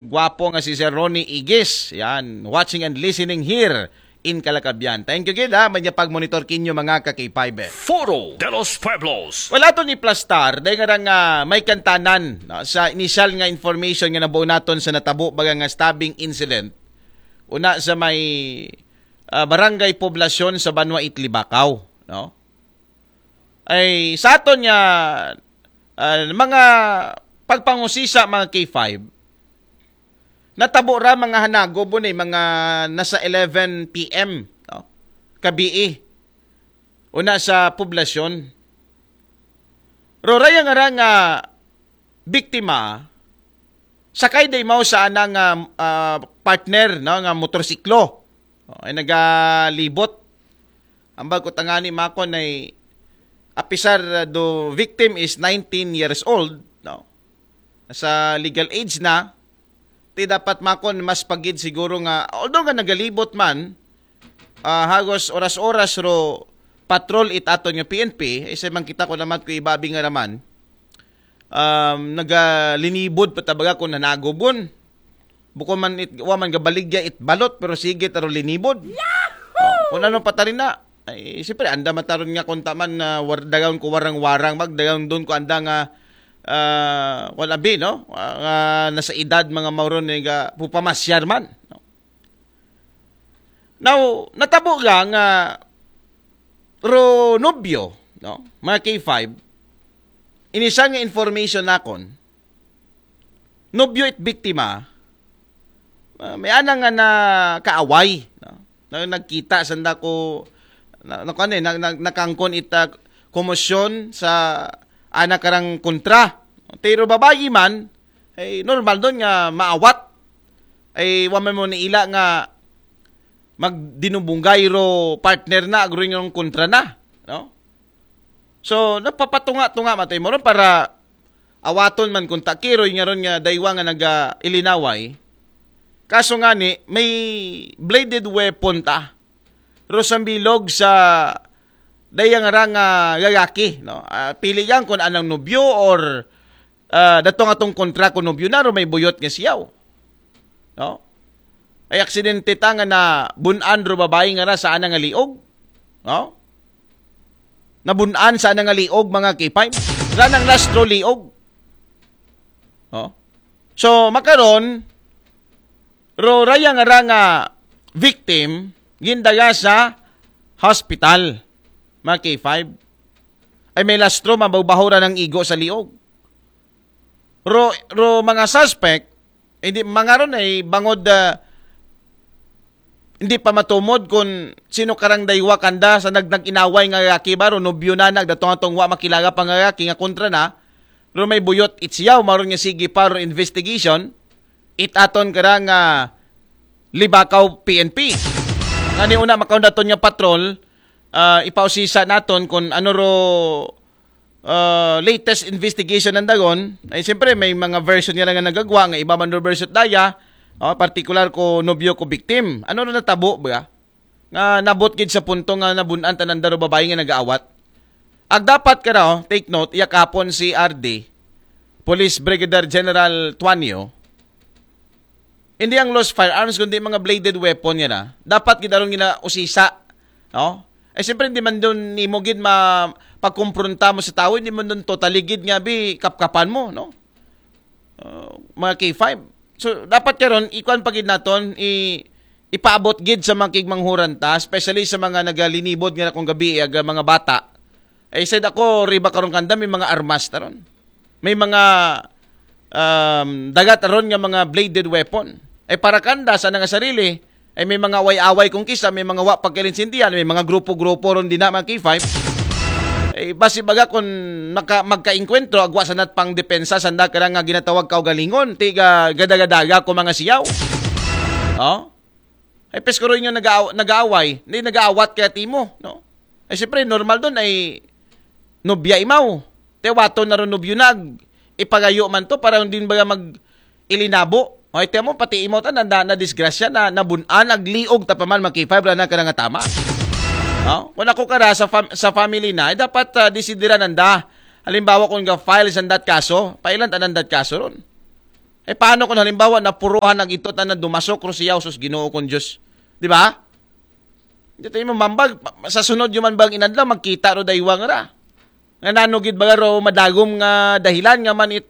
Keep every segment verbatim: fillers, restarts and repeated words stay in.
Gwapo nga si Sir Ronnie Igis. Yan, watching and listening here in Calacabyan. Thank you gid ha, may pag-monitor kinyo mga ka-K five. Foro de los Pueblos. Wala to ni plastar, dahil nga nga may kantanan no, sa initial nga information nga nabuo naton sa natabo baga nga stabbing incident. Una sa may ah, barangay poblasyon sa Banwa Itlibakaw, no? Ay sa aton nga ah, mga pagpangusisa mga K five, natabo ra mga hanago bunay mga nasa eleven p m, no? Kabii. Una sa poblasyon. Roraya nga ra nga biktima, sakay day mao sa ana nga ah, partner no nga motorsiklo. O, ay nagalibot. Ang bago tangani makon ay apisar uh, do victim is nineteen years old, no? Sa legal age na, ti dapat makon mas pagid siguro nga, although nga nagalibot man, ah, hagos oras-oras ro patrol it aton nga P N P, isa man kita ko naman ko ibabi nga naman, um, nagalinibod patabaga kung nanagobon. Bukod man it, wa man gabaligya it balot, pero sige taro linibod. Oh, kung ano pa tarin na, ay, siyempre, anda mataron nga kung taman na war, dagang ko warang-warang, mag dagang doon ko anda nga, ah, wala bi, no? Ah, nga nasa edad mga mauron nga pupamasyar man. No? Now, natabo nga nga ro nobyo, no? Mga K five, inisa nga information nakon, nobyo it biktima, ah, may ana nga na kaaway, no? Na nagkita sanda ko na, na, kuwan eh, na, na, nakangkon ita komosyon sa ana karang kontra. Pero babayi man, ay normal doon nga maawat. Ay wa man mo niila nga magdinubunggay ro partner na, agro yung kontra na, no? So, napapatunga-tunga matay mo ron para awaton man kung takiroy nga ron nga daywa nga naga-ilinaway. Kaso nga ni, may bladed weapon ta. Ro sa bilog sa dayang ra nga lalaki, no? Ah, pili yan kung anang nobyo or ah, datong atong kontra kung nobyo na ro may buyot nga siyaw. No? Ay aksidente ta nga na bunan ro babae nga ra sa ana nga liog. No? Nabunan sa ana nga liog, mga K five. Ranang lastro liog. No? So, makaron, ro raya nga ra nga victim, gindaga sa hospital, mga K five. Ay may lastro, mababaho ra ng igo sa liog. Ro, ro mga suspect, hindi, mga ron ay bangod, ah, hindi pa matumod kung sino karang daywa kanda sa nag-, nag-inaway nga lalaki ba, ro nobyo na nagdatong atong wa makilala pa nga lalaki nga kontra na, ro may buyot itsiyaw, maron nga sige pa, ro investigation, it aton karang ah, Libakaw P N P. Kani una makaundaton nga patrol, ah, ipausisa naton kung ano ro ah, latest investigation ng Dagon, ay siyempre may mga version nga lang nga nagagwa, nga iba man ro version daya, oh, particular ko nobyo ko victim. Ano na natabo ba? Nga nabot gid sa punto nga nabunan tanan daro babae nga nagaawat. Ag dapat ka raw, take note, iya kapon si R D, Police Brigadier General Tuanio, hindi ang lost firearms, kundi mga bladed weapon nga na. Dapat gid aron ginausisa, no? Ay siyempre, hindi man doon nimo gid ma pagkumpronta mo sa tao, hindi man doon totally gid nga bi kapkapan mo, no? Uh, mga K five. So, dapat karon ikuan pa gid naton, i ipaabot gid sa mga kigmanghuran ta, especially sa mga nagalinibod nga na kung gabi, aga mga bata. Ay said ako, riba karon kanda, may mga armas taron. May mga um, dagat aron nga mga bladed weapon. Ay para kanda sa nga sarili, ay may mga away-away kung kisa, may mga wa pagkalinsindihan, may mga grupo-grupo ron din na mga K five. Ay basi baga kung maka, magkainkwentro, agwa sa nat pang depensa, sanda ka nga ginatawag kaugalingon, tiga gadagadaga ko mga siyaw. Oh? Ay pes ko rin yung nag-aaw- nag-aaway, hindi nag-aawat kaya timo, no? Ay siyempre, normal doon ay nobya imaw. Te wato na ron nobyo nag ipagayo man to para hindi baga mag ilinabo. O ite mo, pati imaw ta na, na, na disgrasya na nabunan, nagliog ta pa man, makipay, wala na ka na nga tama. No? Kung ako kara sa, fam- sa family na, ay dapat uh, desidiran nanda. Halimbawa kung ga-file sa dat kaso, pailan tanan dat kaso ron. Eh, paano kung halimbawa napuruhan na gid to, tanan dumasok ro siya, sus, Ginoo kong Diyos? Di ba? Di tayo mamambag, sa sunod yung man bang inadlaw, magkita ro daywang ra. Nga nano gid ba ro madagom nga dahilan nga man it,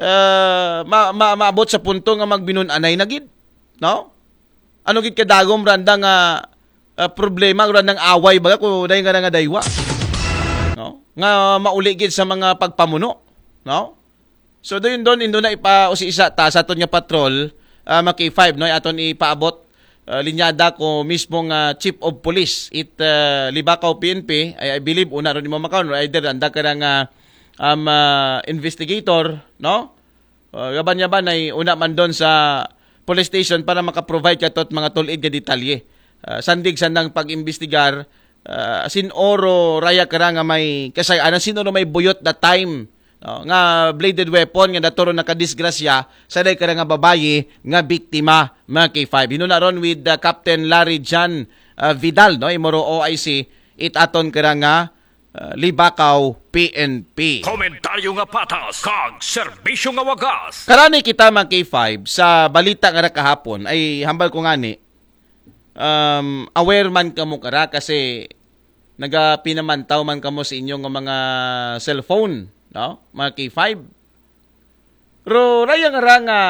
ah, ma, ma, maabot sa punto nga magbinun-anay na gid, no? Ano gid kadagom randa nga, ah, problema, randa nga away ba ko dahil nga nga daywa, no? Nga mauli gid sa mga pagpamuno, no? So, doon, doon, indo na ipa, o si isa, ta, sa aton nga patrol, ah, mga K five, no? Aton ipaabot, ah, linyada ko mismo nga chief of police, it, ah, Libacao P N P, I, I believe, una ron imo makaon, or either, anda ka nga, um, ah, investigator, no? Ah, gaban-gaban ay una man doon sa police station para makaprovide ka tot mga tulid nga detalye. Ah, sandig sa nang pag-imbestigar, ah, sin oro raya ka ra nga may kasay-anan, sin oro may buyot that time, no, nga bladed weapon nga naturo nakadisgrasya sa day ka ra nga babayi nga biktima, mga K five. Hino na ron with, ah, Captain Larry John, ah, Vidal, no, Imoro O I C, it aton ka ra nga, ah, Libacao P N P. Komentaryo nga patas, kag serbisyo nga wagas. Karani kita, mga K five, sa balita nga ra kahapon, ay hambal ko ngani, um, aware man kamo kara kasi nagapinamantaw man kamo sa inyo nga mga cellphone, no? Mga K five. Pero raya nga ra nga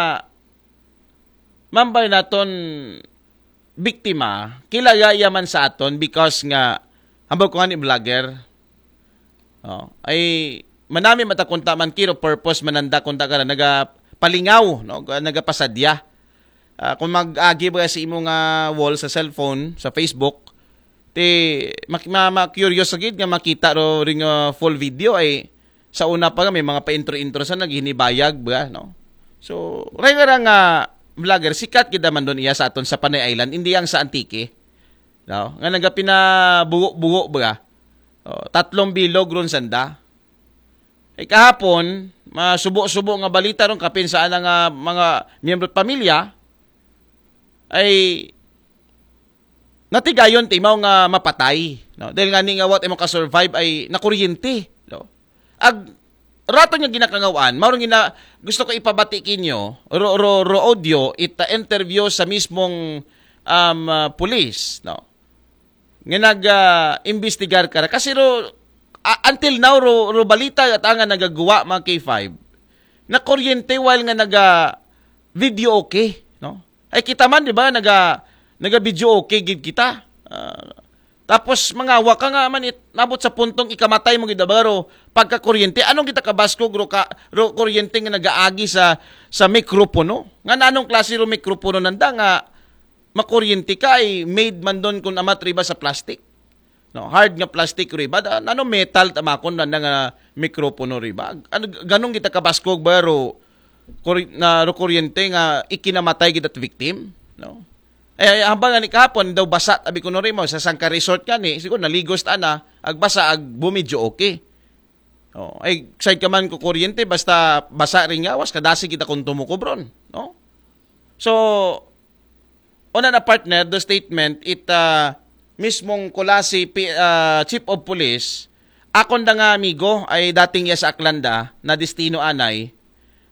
mambay naton biktima, kilala iya man sa aton because nga, hambal ko nga ni vlogger. Oh, ay, manami mata kunta man kiro purpose mananda kunta ka na nagapalingaw, no? Nagapasadya. Ah, kung mag-agi ba sa imo nga wall sa cellphone, sa Facebook, ti mak- ma, ma curious gid nga makita ro ring, ah, full video ay sa una pa nga may mga pa-intro-intro sa naghinibayag ba, no? So, ray nga ra nga vlogger, sikat gid man doon iya sa aton sa Panay Island, hindi ang sa Antique, no? Nga nagapinabugo-bugo ba? Oh, tatlong bilog ron sanda. Eh, kahapon, masubo-subo nga balita ron, kapin sa ana nga mga miyembro at pamilya, ay natigayon ti imaw nga mapatay, no? Dahil nga ni nga what imo ka-survive ay nakuryente, no? Ag rato nga ginakangawan, mao gina gusto ko ipabati kinyo, ro, ro, ro audio, it, uh, interview sa mismong, um, uh, police, no? Nga nag, uh, imbestigar ka ra. Kasi ro, uh, until now, ro, ro balita at nga nagaguwa, mga K five, nakuryente while nga naga video okay, no? Ay kita man, di ba, naga, naga video okay gid kita. Ah, tapos mga waka nga man it, nabot sa puntong ikamatay mo gid abaro pagkakuryente. Anong kita kabaskog ro ka ro kuryente nga nagaagi sa sa mikropono? Nga nanong klase ro mikropono nanda nga makuryente ka ay made man doon kung amat riba sa plastic? No, hard nga plastic riba, da, nano metal tamakon na nga mikropono riba. Ano, ganong kita kabaskog ba ro, kuri, na ro kuryente nga ikinamatay kita victim, no? Eh, hambal nga ni kahapon, daw basa, tabi ko no rimo, sa sangka resort ka ni, siguro naligos ta na, agbasa, ag bumidyo okay. Oh, ay, side ka man ko kuryente, basta basa rin gawas, kadasi kita kung tumukubron, no? So, una na partner, the statement, it, ah, mismong Culasi P-, ah, Chief of Police, akon da nga amigo, ay dating iya sa Aklanda, na destino anay,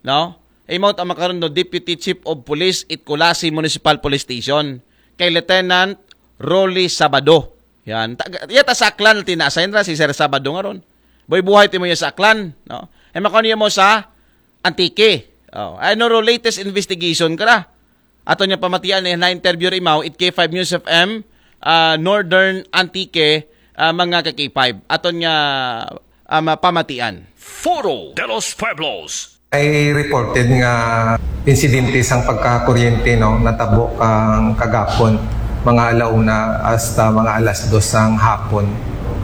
no? Ay mao ta makaron no, Deputy Chief of Police it Culasi Municipal Police Station, kay Lieutenant Rolly Sabado. Yan. Ta-, iya ta sa Aklan, tina-assign ra si Sir Sabado nga ron. Boy, buhay ti mo iya sa Aklan, no? Ay makaon iya mo sa Antique. Oh, ano ro latest investigation ka ra? Aton nga pamatian eh, na-interview ri imaw, it K five News F M, ah, Northern Antique, ah, mga ka K five. Aton nga, ah, ma-, pamatian. Foro de los Pueblos. Ay reported nga insidente sang pagkakuryente, no, natabo kang kagapon, mga alauna hasta mga alas dos sang hapon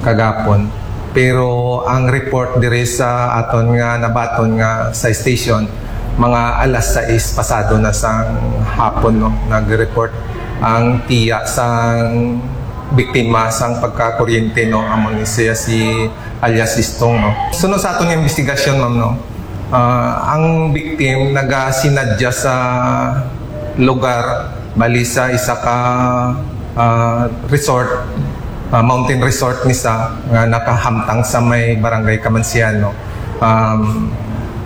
kagapon. Pero ang report diri sa aton nga nabaton nga sa station, mga alas sais pasado na sang hapon, no, nag-report ang tiya sang biktima sang pagkakuryente, no, amo ni siya si alias Istong, no. Sunod sa aton nga investigasyon, ma'am, no, ah, ang victim nagasinadya sa lugar, bali sa isa ka, ah, resort, ah, mountain resort ni sa nga nakahamtang sa may barangay Kamansiano. Um,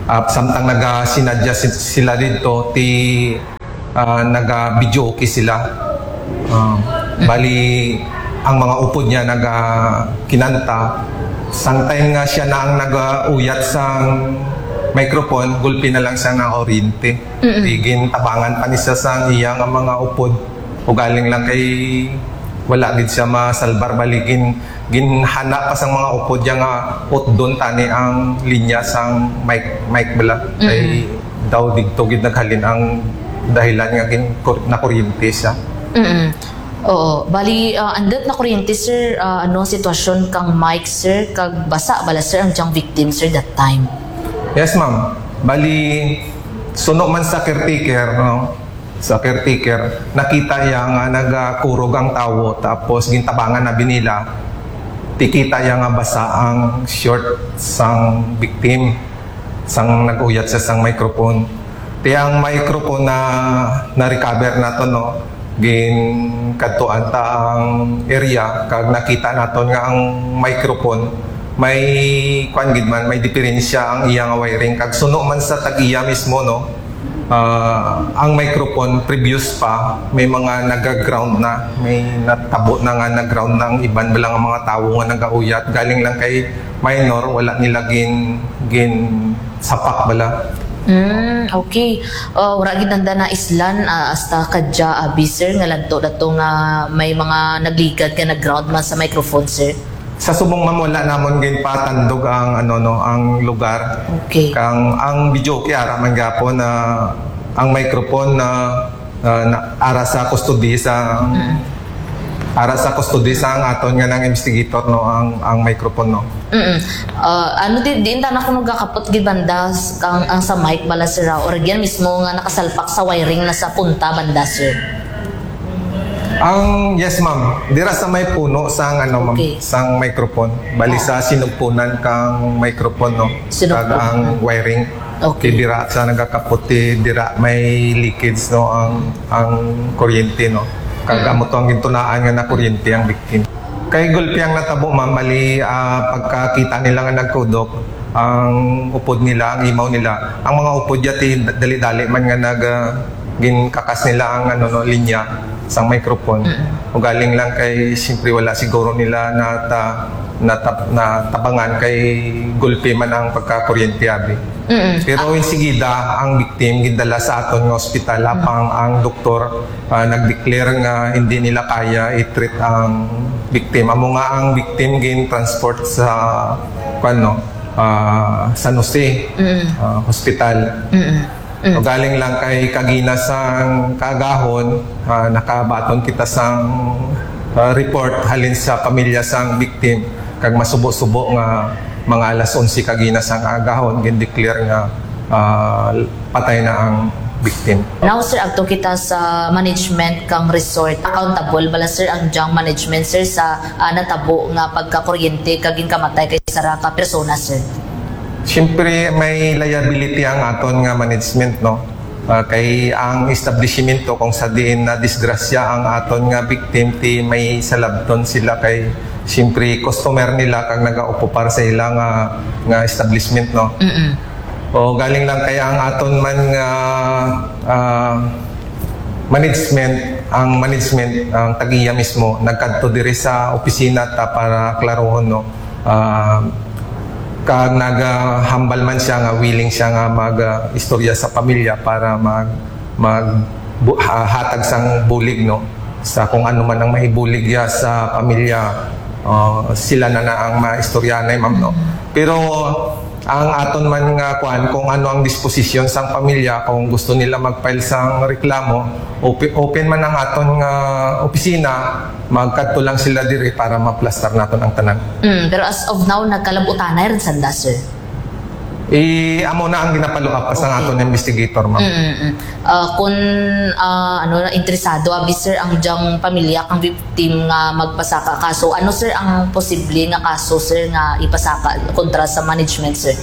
Ah, samtang nagasinadya si-, sila dito, ti, ah, naga-videoke sila. Ah, bali, ang mga upod niya naga-kinanta. Sang time nga siya na ang nagauyat sang microphone, gulpi na lang siya na oriente. Di gintabangan pa ni siya sang iya nga mga upod. Ugaling lang kay wala gid siya masalbar, bali gin-, ginhana pa sang mga upod niya nga utdon tani ang linya sang mic, mic bala. Kay daw digto gid naghalin ang dahilan nga gin-, kur-, nakuryente siya. Mm. Oo. Bali, ah, andut nakuryente, sir, ah, ano ang sitwasyon kang mic, sir? Kag basa bala, sir, ang dyang victim, sir, that time? Yes, ma'am. Bali, suno man sa caretaker, no? Sa caretaker, nakita iya nga nagakurog ang tawo, tapos gintabangan na bi nila, ti kita iya nga basa ang short sang victim, sang nag-uyat siya sang microphone. Ti ang microphone na na-recover naton, no? Ginkadtuan ta ang area, kag nakita naton nga ang microphone may, kuan gid man, may diperensya ang iya nga wiring, kag suno man sa tag-iya mismo, no? Ah, ang microphone previous pa, may mga naga-ground na, may natabo na nga nag-ground na ang iban bala nga mga tawo nga nagauyat. Galing lang kay minor, wala nila gin-, ginsapak bala. Mm, okay. Ah, wara gid nanda naislan, ah, hasta kadya abi, sir, nga ladto dato nga may mga nagligad nga nag-ground man sa microphone, sir? Sa subong, ma'am, wala namon ginpatandog ang, ano, no, ang lugar. Okay. Kang ang videoke ara man gapon na ang microphone na, na, na ara sa custody sa, ara sa custody sang aton nga nang investigator, no, ang, ang microphone, no. Mm. Ah, ano, di, diin ta na kuno gakapot gid banda s-, ang, ang sa mic bala, sir, ah, or diyan mismo nga nakasalpak sa wiring na sa punta banda, sir? Ang, yes, ma'am. Dira sa may puno sang, ano, ma'am, Okay. Sang microphone. Bali sa sinugpunan kang microphone, no? Sinugpon. Kag ang wiring. Okay. Ti dira sa nagakapot, ti dira may leakage, no, ang, ang kuryente, no? Kag amo to ang gintunaan nga nakuryente ang victim. Kay gulpi ang natabo, ma'am, bali, ah, pagkakita nila nga nagkudok, ang upod nila, ang imaw nila, ang mga upod ya ti dali-dali man nga nag, ah, ginkakas nila ang, ano, no, linya sang microphone. Ugaling lang kay siyempre wala siguro nila nata-, nata-, natabangan kay gulpi man ang pagkakuryente abi. Pero insigida ang victim gindala sa aton nga ospital, apang ang doktor, ah, nag-declare nga hindi nila kaya i-treat ang victim. Amo nga ang victim gin-transport sa, kuan, no, ah, San Jose, ah, hospital. Ugaling lang kay kagina sang kaagahon, ah, nakabaton kita sang, ah, report halin sa pamilya sang victim, kag masubo-subo nga mga alas onse kagina sang kaagahon, gin-declare nga, ah, patay na ang victim. Now, sir, agto kita sa management kang resort. Accountable bala, sir, ang dyang management, sir, sa, ah, natabo nga pagkakuryente kag ginkamatay kay sara ka persona, sir? Siyempre, may liability ang aton nga management, no? Ah, kay ang establishmento kung sa diin na disgrasya ang aton nga victim, ti may salabton sila kay siyempre customer nila kag nagaokupar sa ila nga, nga establishment, no? O galing lang kay ang aton man nga, ah, management, ang management, ang tag-iya mismo nagkadto diri sa opisina ta para klarohon, no? Ah, kag nagahambal man siya nga willing siya nga mag, ah, istorya sa pamilya para mag, mag bu-, ha-, hatag sang bulig, no, sa kung ano man ang maibulig ya sa pamilya, ah, sila na na ang maistoryahanay, ma'am, no. Pero ang aton man nga kuan, kung ano ang disposisyon sang pamilya, kung gusto nila mag-file sang reklamo, open, open man ang aton nga opisina, magkadto lang sila diri para maplastar naton ang tanan. Mm, pero as of now, nagkalab-utanay rin sanda, sir? Eh, amo na ang ginapaluap pa sang aton investigator, ma'am. Mm, mm. Ah, kung, ah, ano, interesado abi, sir, ang dyang pamilya kang victim nga magpasaka kaso, ano, sir, ang posible nga kaso, sir, nga ipasaka kontra sa management, sir?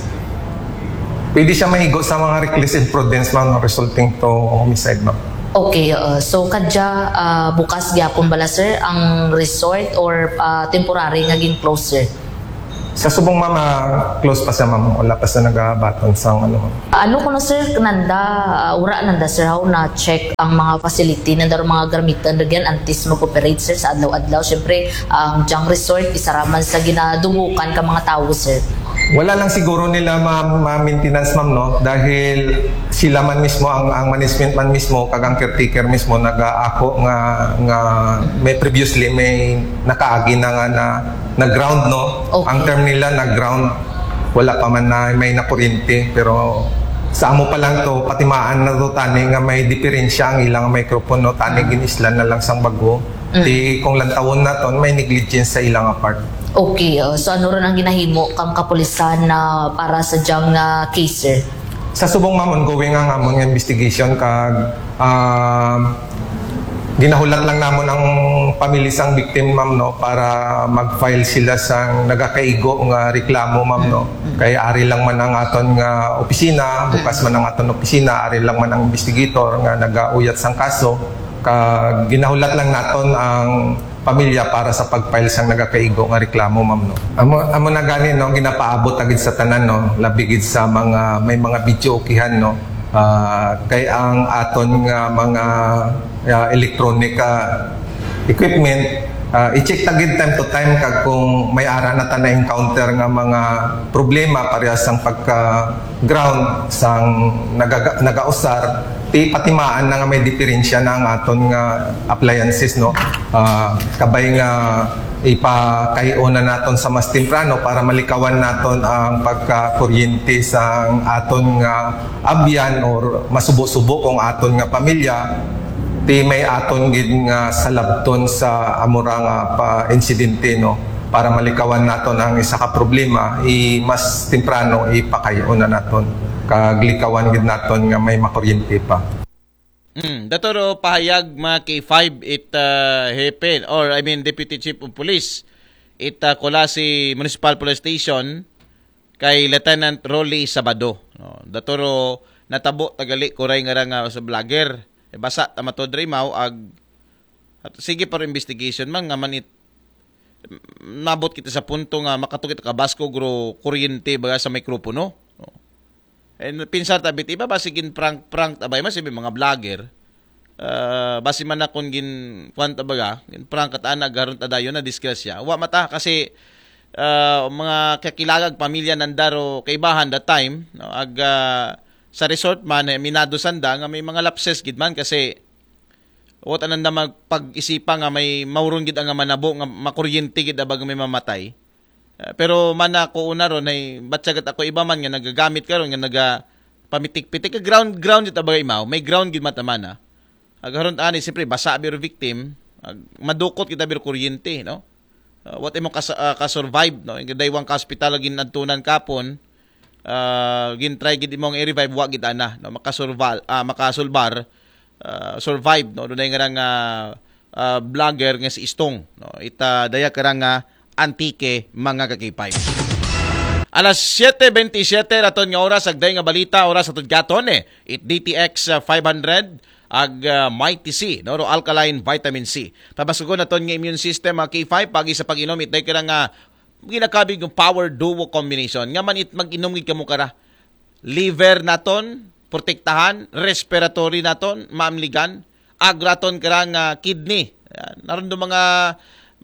Pwede siya mahigo sa mga reckless imprudence, ma'am, resulting to homicide, ma'am. Okay, uh, so kadya, ah, bukas gyapon bala, sir, ang resort or, ah, temporary nga gin-close, sir? Sa subong, ma'am, ah, close pa siya, ma'am. Wala pa siya nagabaton sa ano, ma'am. Ano ko na, sir, nanda, ah, ura nanda, sir, how na check ang mga facility, nanda ro mga garamitan ragyan antes mag-operate, sir, sa adlaw-adlaw. Siyempre, ang Jang Resort, isa raman sa ginadubukan ka mga tao, sir. Wala lang siguro nila ma, ma maintenance, ma'am, no? Dahil sila man mismo, ang, ang management man mismo, kag ang caretaker mismo, nagaako nga, nga may previously, may nakaagi na nga na, na ground, no? Okay. Ang term nila na ground, wala pa man na may nakuryente, pero sa amo pa lang to, patimaan na to tani nga may diferensya ang ilang microphone, no? Tani ginislan na lang sang bago. Di kung lantawon naton, may negligence sa ilang part. Okay, uh, so ano ron ang ginahimo kang kapulisan na para sa dyang, uh, case, sir? Sa subong, ma'am, ongoing ang amon nga investigation kag, ah, ginahulat lang namon ang pamilya sang victim, ma'am, no, para mag-file sila sang nagakaigo nga reklamo, ma'am, no. Kay ari lang man ang aton nga opisina, bukas man ang aton opisina, ari lang man ang investigator nga nagauyat sang kaso. Kag ginahulat lang naton ang pamilya para sa pag-file sang nagakaigo nga reklamo, ma'am, no. Amo, amo na gani, no, ginapaabot ta gid sa tanan, no, labi gid sa mga may mga videokehan, no. Ah, kay ang aton nga mga, ah, electronic, ah, equipment, ah, i-check ta gid time to time kag kung may ara na ta na-encounter nga mga problema parehas sang pagka ground sang nagaga, nagausar, ti patimaan na nga may diferensya na ang aton nga appliances, no. Ah, kabay nga ipakay-on na naton sa mas temprano para malikawan naton ang pagkakuryente sang aton nga abyan or masubo-subo kung aton nga pamilya, ti may aton gid nga salabton sa amura nga pa insidente, no, para malikawan naton ang isa ka problema, i mas temprano ipakay-on na naton kag likawan gid naton nga may makuryente pa. Mm, dato ro pahayag mga K five it, uh, Hepe, or I mean Deputy Chief of Police it, uh, Culasi Municipal Police Station kay Lieutenant Rolly Sabado. No? Dato ro natabo tagali kuray nga ra nga sa vlogger. E, basa tama to dre mao ag at sige para investigation man nga man it nabot kita sa punto nga makatukit ka basko gro kuryente baga sa mikropono. No? And pinsar tabit iba basi gin prank prank tabay mas iba mga vlogger. Ah, basi man akon gin kwan tabaga, gin prank at ana garon tadayon na disgrasya. Wa mata kasi ah, mga kakilagag pamilya nandaro kaibahan that time, no? Ag ah, sa resort man eh, minado sanda nga may mga lapses gid man kasi Wat ananda magpag-isipa nga may mauron gid ang manabo nga makuryente gid abag may mamatay. Ah, pero mana ko una ron ay batyagat ako iba man nga nagagamit karon nga naga pamitik-pitik ka ground ground gid abag imaw may ground gid matamana. Agaron ani siyempre basa biro victim, ag, madukot kita biro kuryente, no? Ah, what imo kas, ah, ka-survive, no? Yung daywang ka hospital lagi nadtunan kapon, ah, gin-try gid imong i-revive wa gid ana, no? Makasurvive, ah, makasulbar, ah, survive, no? Dunay nga nga ah, vlogger nga si Istong, no? Ita daya karang nga Antique mga ka-K five. Alas siete veintisiete raton nga oras agday nga balita oras aton gaton eh. It D T X ah, five hundred ag ah, Mighty C, no? Ro alkaline vitamin C. Pabasugon naton nga immune system mga K five pagi sa pag-inom it day karang nga ginakabig ng power duo combination. Nga man it mag-inom gid kamo kara. Liver naton protektahan, respiratory naton maamligan, agraton karang ah, kidney. Yan. Naroon do mga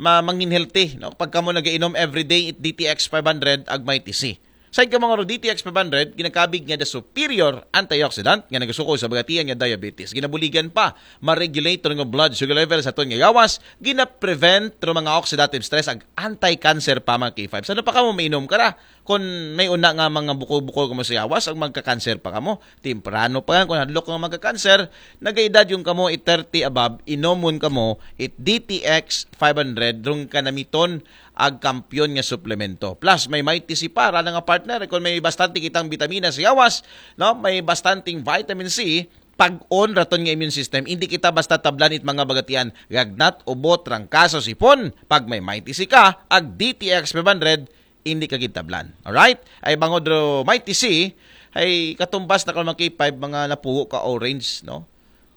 ma, mangin healthy, no? Pag kamo nagainom everyday it D T X five hundred ag Mighty C. Sa ika mga D T X five hundred, ginakabig nga the superior antioxidant nga nagasuko sa bagatian nga diabetes. Ginabuligan pa, ma-regulate nga blood sugar level sa aton nga gawas, gina-prevent ro mga oxidative stress ag anti-cancer pa mga K five. Sa ano pa kamo mainom kara? Kung may una nga mga bukol-bukol kamo sa yawas, ang magka-cancer pa kamo. Temprano pa nga, kung hadlok nga magka-cancer, nagaedad yung kamo it thirty above, inomon kamo it D T X five hundred, rong kanamiton ag kampiyon nga suplemento. Plus, may Mighty C para nga partner. Kung may bastante kitang bitamina sa yawas, no? May bastanteng vitamin C, pag-on raton nga immune system, hindi kita basta tablan it mga bagatian, gagnat, ubo, trangkaso, sipon. Pag may Mighty C ka, ag D T X five hundred, hindi ka gid tablan. Alright? Ay bangod ro Mighty C, ay katumbas na ka mga K five, mga napuho ka orange, no?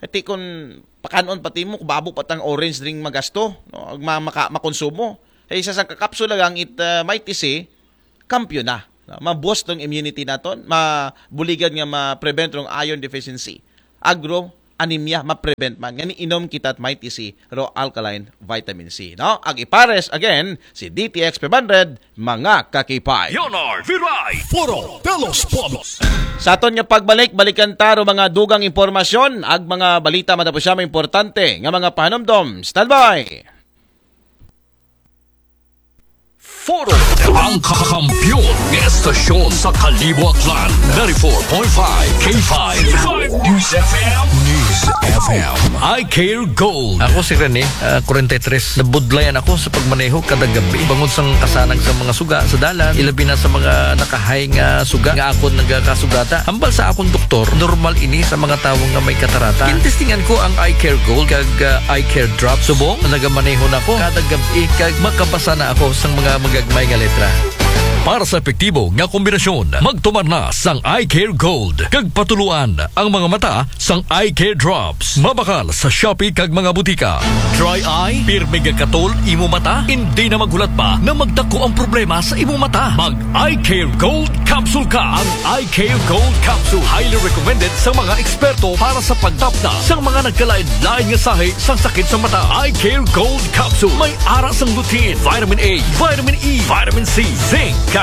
Iti kun pakanon pati mo, kubabo pa tang orange drink magasto, no? Ag ma, maka, makonsumo. Ay isa sang kakapsula lang it ah, Mighty C, kampiyon na. No? Ma-boost tong immunity naton, mabuligan nga ma-prevent rong iron deficiency. Agro anemia, ma-prevent man. Ngani inom kita it Mighty C, raw alkaline vitamin C. No? Ag ipares, again, si D T X five hundred, mga kakipay. Leonard Viray, Foro de los Pueblos. Sa aton nga pagbalik, balikan ta ro mga dugang impormasyon, ag mga balita matapos siya mga importante nga mga pahanumdom. Standby! Foro. Ang kakampiyon ng estasyon sa Kalibo Aklan, ninety-four point five K five News F M. News F M. I Care Gold. Ako si Rene, ah, forty-three. Nabudlayan ako sa pagmaneho kada gabi. Bangod sang kasanag sa mga suga sa dalan, ilabi na sa mga nakahay nga suga nga akon nagakasugata. Hambal sa akong doktor, normal ini sa mga tawo nga may katarata. Gintestingan ko ang Eye Care Gold kag, ah, Eye Care Drop. Subong, nagamaneho na ko kada gabi kag makabasa na ako sang mga magagmay nga letra. Para sa epektibo nga kombinasyon, magtumar na sang Eye Care Gold kag patuluan ang mga mata sang Eye Care Drops. Mabakal sa Shopee kag mga butika. Dry eye, pirmi nga katol imo mata, hindi na maghulat pa na magdako ang problema sa imo mata. Mag Eye Care Gold Capsule ka. Ang Eye Care Gold Capsule highly recommended sa mga eksperto para sa pagtapna sa mga nagkalain-lain nga sahi sang sakit sa mata. Eye Care Gold Capsule may ara sang lutein, vitamin A, vitamin E, vitamin C, zinc,